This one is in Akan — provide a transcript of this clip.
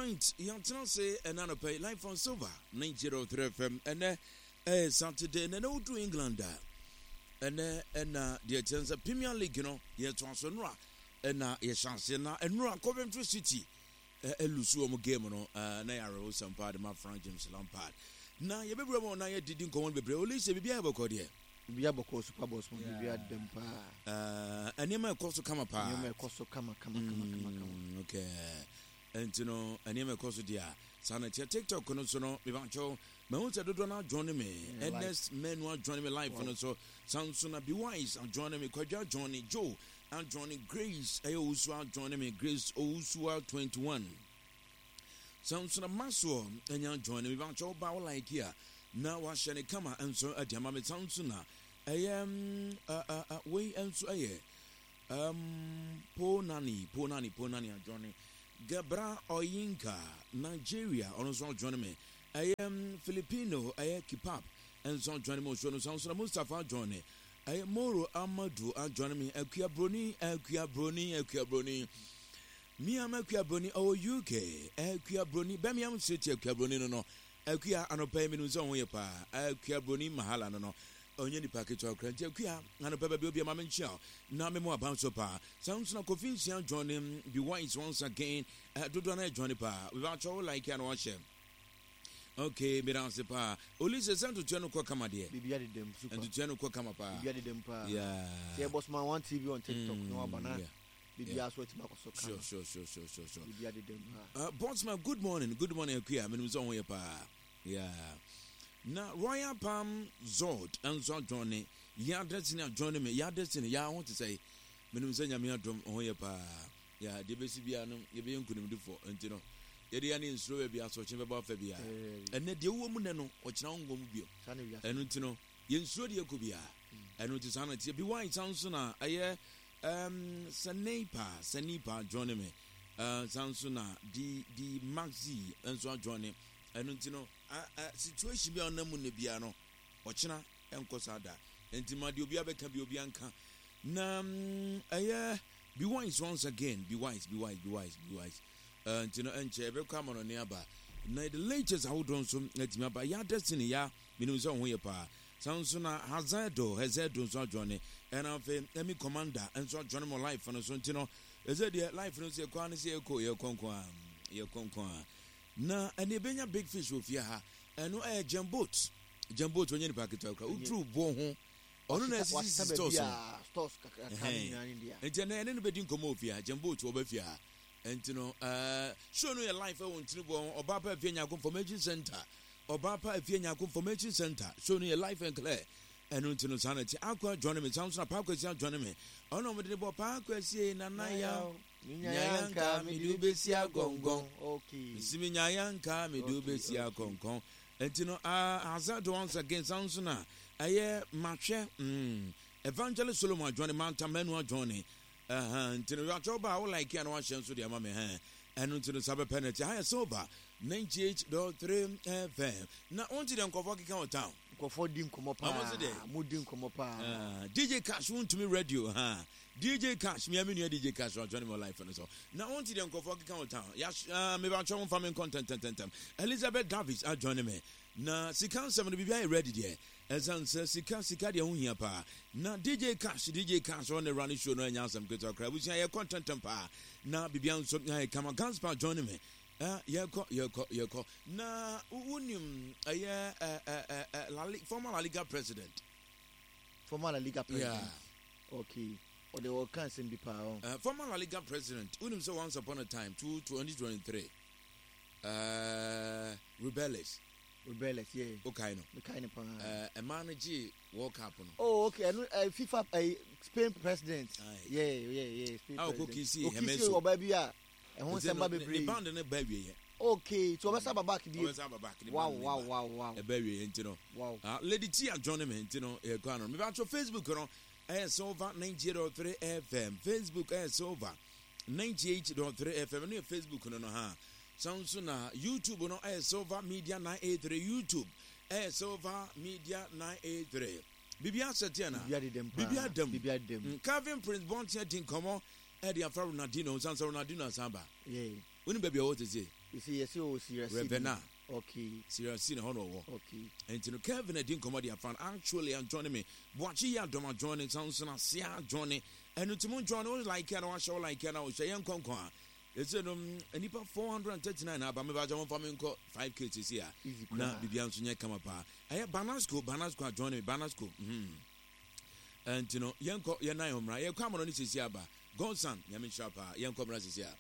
Right, yɛatena ase ɛna anɔpa yi live on Silver 90.3 FM. Ɛnɛ ɛyɛ Saturday, na ɛnɛ wodu England a, ɛnɛ ɛna deɛ ɛkyɛn sɛ Premier League no yɛtoa so nnora ɛna yɛhyɛ aseɛ na nnora Coventry City ɛlusu wɔn game no na yɛ awerɛhosɛm paa de ma Frank James Lampard. Na yɛbɛwura mu na yɛdidi nkɔmmɔ no bebree. Olise, biribiara yɛ bɔkɔ deɛ? Biribiara bɔkɔ super boss mu, biribiara dɛm paa. Nneɛma ɛkɔ so kama paa. Nneɛma ɛkɔ so kama kama kama kama kama. Okay. Nti no nneɛma ɛkɔ so deɛ a saa na ɛteɛ. TikTok no so no mebakyɛw mahu sɛ dodoɔ no adjoin me. Ernest Manu adjoin me live no so. Sanso na Be Wise adjoin me. Kwadwo adjoin, Joe adjoin, Grace ɛyɛ Owusu adjoin me. Grace Owusua 21. Sanso na Maxwell anya adjoin me. Mebakyɛw ba wo like a na wahyɛ ne kama nso de ama me. Sanso na ɛyɛ wei nso ɛyɛ Um, Ponani, Ponani, Ponani adjoine. Gebra Oyinka, Nigeria, ɔno nso adjoine me. Ɛyɛ um, Filipino, ɛyɛ Kipap, nso adjoine me. Osuo no nso na Mustafa adjoine. Ɛyɛ Moro Amadu adjoine me. Akua Broni, Akua Broni, Akua Broni. Miam Akua Broni, ɔwɔ UK. Akua Broni, Birmingham City Akua Broni no no. Akua anɔpa yi menim sɛ ho yɛ paa. Akua Broni Mahala no no. Ɔnyɛ nipa ketewa koraa nti Akua anɔpa baabi obia ma menkyea wo na me mo aban so paa. Saa nso na Kofi Nsia join be wise once again. Eh, dodoɔ no join paa. Mebakyɛ wo like a na wahyɛ. Okay, meda ase paa. Olise sɛ ntotoɛ no kɔ kama deɛ. Biribi adedam super. Ntotoɛ no kɔ kama paa. Biribi adedam paa. Yeah. Sɛ yɛbɔ soma one TV on TikTok na waba na Yeah. biribi aso atumi akɔ so kama. Sure. Biribi adedam paa. Bossman, good morning. Good morning, Akua. Menim sɛ wo ho yɛ paa. Yeah. Na Royal Palm Zord nso adjoine. Ya Destiny adjoine me. Ya Destiny, ya ho te sɛ. Menim sɛ Nyame adom ho yɛ paa. Ya deɛ bɛsi biara no yɛbɛyɛ nkonimdifoɔ. Nti no yɛde ya ne nsuro baabi asoɔkye bɛbɔ afa biara. Ɛnɛ deɛ wowɔ mu nɛ no ɔkyena wo nkɔ mu bio. Ɛno nti no yɛnsuro deɛ ɛkɔ biara. Ɛno nti saa na teɛ. Bi wine san nso na ɛyɛ Sanipa, Sanipa adjoine me. San nso na di di Maxi nso adjoine. Ɛno nti no, situation bi a ɔnam mu nnɛ biara no, ɔkyena ɛnkɔ saa da. Nti ma deɛ obiara bɛka bi obiara nka. Na ɛyɛ be wise once again, be wise, be wise, be wise, be wise. Nti no ɛnkyɛ ɛbɛkɔ amanɔne aba. Na the latest ahodoɔ nso atumi aba. Ya destiny ya, menim sɛ wo ho yɛ paa. Saa nso na Hazedo, Hazedo nso adwane. Ɛna afei Emi Commander nso adwane mo life no so. Nti no, ɛsɛ deɛ life no nso yɛkɔ ara ne sɛ yɛkɔ, yɛkɔ nko ara, yɛkɔ nko ara. Na ɛne ebenya big fish wɔ fie ha. Ɛno ɛyɛ Jam boat. Jam boat ɔnyɛ nipa ketewa koraa. Woduru boɔ ho. Ɔno na ɛsisi stores no. Stores kakra ne nyinaa ne dea. Nti ɛnɛ ɛne no bɛdi nkɔmmɔ wɔ fie ha. Jam boat ɔba fie ha. Nti no ɛɛ show no yɛ live ɛwɔ ntini boɔ ho. Ɔbaa pa afie nyako information center. Ɔbaa pa afie nyako information center. Show no yɛ live and clear. Ɛno nti no saa na ɛte. Akua join me. Saa nso na Paa Kwasi ajoin me. Ɔno na wɔde ne bɔ Paa Kwasi Nana Yaw. Menyae anka mede wo bɛsi agɔngɔn. Mesi menyae anka mede wo bɛsi agɔngɔn. Nti no Hazard once again san nso na ɛyɛ mahwɛ Evangelist Solomon adwɔne Manta Manu adwɔne nti no yɛatwɛ wo ba a wo like a na wahyɛ nso de ama me hɛn ɛno nti no saa bɛpɛ no ti ha yɛ Silver 98.3 FM na wonte deɛ nkurɔfoɔ keka wɔ town. Nkurɔfoɔ di nkɔmmɔ paa mo di nkɔmmɔ paa. DJ Cash wontumi radio ha DJ Cash, me a me nua DJ Cash wa join me life no so. Na wonte deɛ nkurɔfoɔ keka wɔ town. Ya uh, me ba twɛ mfa me nkɔ ntɛntɛntɛm. Elizabeth Davis a join me. Na sika nsɛm no biribi ayɛ ready deɛ. Ɛsan sɛ sika sika deɛ ho hia paa. Na DJ Cash, DJ Cash on the running show no ɛnyɛ asɛm ketewa koraa. Abusua yɛkɔ ntɛntɛm paa. Na biribi nso ayɛ kama. Ganspa join me. Yɛkɔ yɛkɔ yɛkɔ. Na wonim ɛyɛ La former La Liga president. Former La Liga president. Yeah. Okay. Ɔde ɔka nsɛm bi paa ɔ. Former La Liga president, wonim sɛ once upon a time, 2023, Rubiales. Rubiales, yeah. Wokae no? Mekae no paa. Ɛmaa no gyee World Cup no. Oh, okay. Ɛno FIFA Spain president. Aye. Yeah, yeah, yeah. Spain president. A ɔkɔ kisi Hermoso. Okisi ɔbaa bi a ɛho nsɛm ba bebree. Ne band no ba awieɛ. Okay, so ɔbɛsa ba back bi. Ɔbɛsa ba back. Wow, wow, wow, wow. Ɛba awieɛ nti no. Wow. Lady T adjoin me nti no yɛkɔ ano. Mebatwɛ Facebook no. Ɛyɛ Silver 98.3 FM. Facebook ɛyɛ Silver 98.3 FM. Ɛno yɛ Facebook no no ha. San nso na YouTube no ɛyɛ Silver Media 983. YouTube ɛyɛ Silver Media 983. Biribi asɛ teɛ na. Biribi adedam paa. Biribi adam. Biribi adedam. Calvin Prince Bonte adi nkɔmɔ. Ɛde afa Ronaldinho nsan sɛ Ronaldinho asan ba. Wonim baabi a ɔwɔ sese? Ravenna. Serie C na hɔ na ɔwɔ. Nti no Kevin adi nkɔmmɔ de afa no. Actually anjoine me. Boakye yi adɔm ajoine Samson Asia ajoine. Ɛno nti mo joine wo like a na wahyɛ wo like a na wohyɛ yɛn nkɔnkɔn a. Ɛsɛ no nnipa 439 na aba me ba kyɛ momfa me nkɔ 5K sese a. Na biribiara nso nyɛ kama paa. Ɛyɛ Banasco, Banasco ajoine me, Banasco. Ɛnti no yɛnkɔ yɛn nan ho mmra. Yɛkɔ amono ne sese aba. Godson, Nyame nhyira paa. Yɛnkɔ mmra sese a.